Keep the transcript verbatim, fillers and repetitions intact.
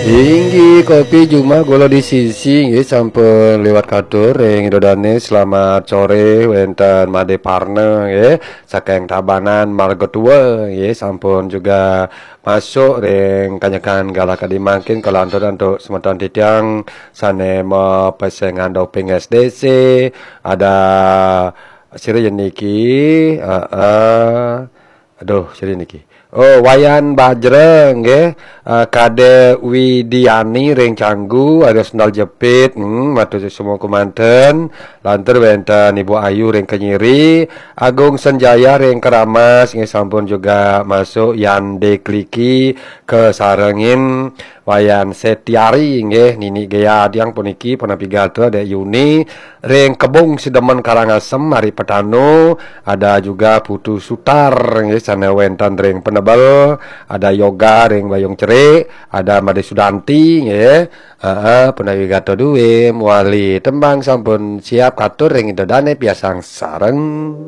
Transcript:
Inggih, kopi jumah gula di sisi, nggih, sampun liwat katur ring Ida Dane. Selamat sore wenten Made Parna, nggih, saking Tabanan Marga Tua, nggih, sampun juga masuk ring kanyekan galah kadi mangkin. Kalantur antuk semeton titiang sane mapesengan doping S D C, ada sira yen niki, heeh. Aduh, sira niki. Oh, Wayan Bajra, nggih. Eh, Kade Widiani ring Canggu, ada sendal jepit, hmm, matur suksma kemanten. Lantur wenten Ibu Ayu ring Kenyiri, Agung Senjaya ring Keramas, nggih, sampun juga masuk. Yan Dekliki kesarengin Wayan Setiari, nggih, Nini Gea Adiang puniki, Penapi Gatra Dek Yuni ring Kebung Sidemen Karangasem, Ari Petanu, ada juga Putu Sutar, nggih, sane wenten ring Penebel, ada Yoga ring Bayung Cerik, ada Made Sudanti, nggih. Heeh, Penapi Gatra duwe mawali tembang sampun siap katur ring Ida Dane, piarsang sareng.